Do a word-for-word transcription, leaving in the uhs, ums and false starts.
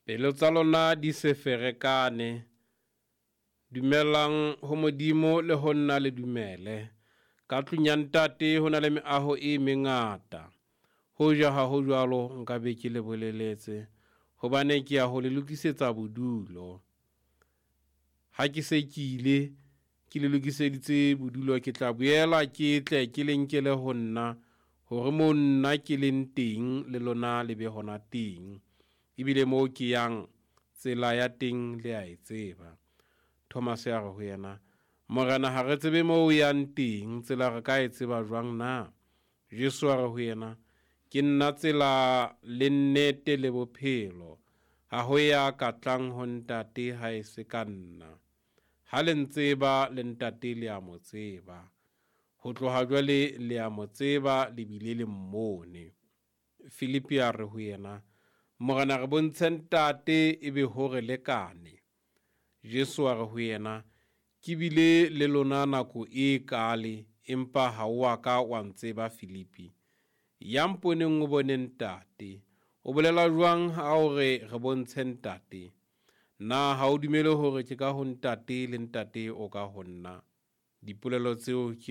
Pelo tsa lona di se ferekane. Dumelang ho Modimo le ho nna le dumele. Ka tlung ya Ntate ho na le meaho e mengata. Hoja ha ho jwalo nka be ke le boleletse, hobane ke ya ho le lokisetsa bodulo. Ha ke se ke ile ke le lokiseditse bodulo, ke tla boela ke tle ke le nkele ho nna, hore moo nna ke leng teng le lona le be hona teng. Ebile moo ke yang tsela ya teng le a e tseba. Thomas a re ho yena, Morena, ha re tsebe moo o yang teng, tsela re ka e tseba jwang na? Jesu a re ho yena, ke nna tsela le nnete le bophelo. Ha ho ya ka tlang ho Ntate ha e se ka nna. Ha le ntseba le Ntate le a mo tseba. Ho tloha jwale le a mo tseba le bile le mmone. Filipi a re ho yena, Morena, re bontshe Ntate ebe ho re lekane. Jesu a re ho yena, ke bile le lona nako e kale, empa ha o a ka wa ntseba Filipi. Ya mponeng o bone Ntate. O bolela jwang ha o re re bontshe Ntate? Na ha o dumele hore ke ka ho Ntate le Ntate o ka ho nna? Dipolelo tseo ke